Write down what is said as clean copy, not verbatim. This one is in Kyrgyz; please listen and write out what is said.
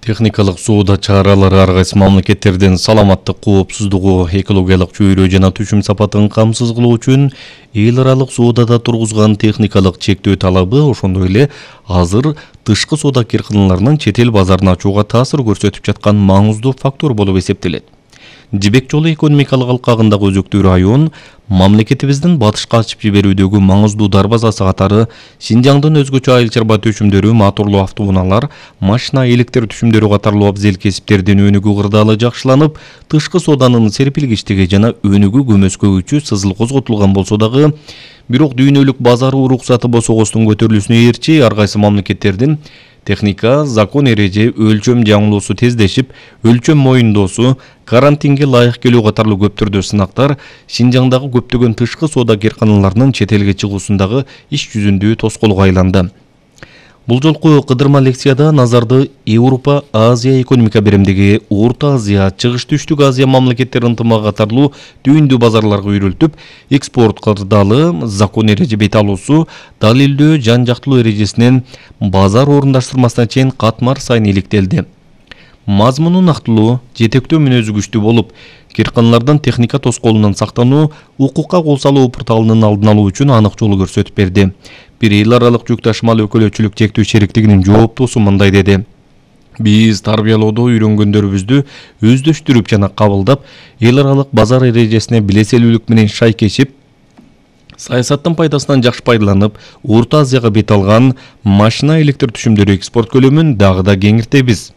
Техникалык соода чаралары ар кайсы мамлекеттердин саламаттык, коопсуздугу, экологиялык чөйрө жана түшүм сапатын камсыз кылуу үчүн эл аралык соодада тургузган техникалык чектөө талабы ошондой эле азыр тышкы соода кирканаларынын чет эл базарына ачууга таасир көрсөтүп жаткан маңыздуу фактор болуп эсептелет. Жибек жолу экономикалык алкагындагы өзөктүү район мамлекетибиздин батышка ачып жиберүүдөгү маңыздуу дарбазасы катары Шинжаңдын өзгөчө айыл чарба төшүмдөрү, моторлуу автоунаалар, машина электр түшүмдөрү катарлуу абзел кесиптердин өнүгүү кырдаалы жакшыланып, тышкы сооданын серпилгичтиги жана өнүгүү көмөскөгүчү сызыл козготулган болсо дагы, бирок дүйнөлүк базар уруксаты босогостун көтөрүлүүсүнө ээрчи ар кайсы мамлекеттердин техника, закон эреже, өлчөм жаңылоосу тездешип, өлчөм моюндоосу, карантинге лайык келүү катарлуу көптөрдө сынактар Шинжаңдагы көптөгөн тышкы соода кирканаларынын чет элге чыгуусундагы иш жүзүндүү тоскоолго айланды. Бул жолку кыдырма лекцияда назарды Европа, Азия экономика беремдиги, Орто Азия, Чыгыш Түштүк Азия мамлекеттери ынтымагы катарлуу түйүндүү базарларга үйрөлтүп, экспорт кырдаалы, закон эреже бет алуусу, далилдөө жан жактылуу эрежесинен базар орундаштырмасына чейин катмар сайын иликтелди. Мазмуну нактылуу, жетектөө мүнөзү күчтүү болуп, кирканалардын техника тоскоолунан сактануу, укукка кол салуу порталынын алдын алуу үчүн анык жол көрсөтүп берди. Бир эл аралык жүк ташымал өкүлөчүлүк чектөө шериктигинин жооптуусу мындай деди: Биз тарбиялоодо үйрөнгөндөрүбүздү өздөштүрүп жана кабылдап, эл аралык базар эрежесине билеселүүлүк менен шайкешип, саясаттын пайдасынан жакшы пайдаланып, Орто Азияга бет алган машина электр түшүмдөрү экспорт көлөмүн дагы да кеңиртебиз.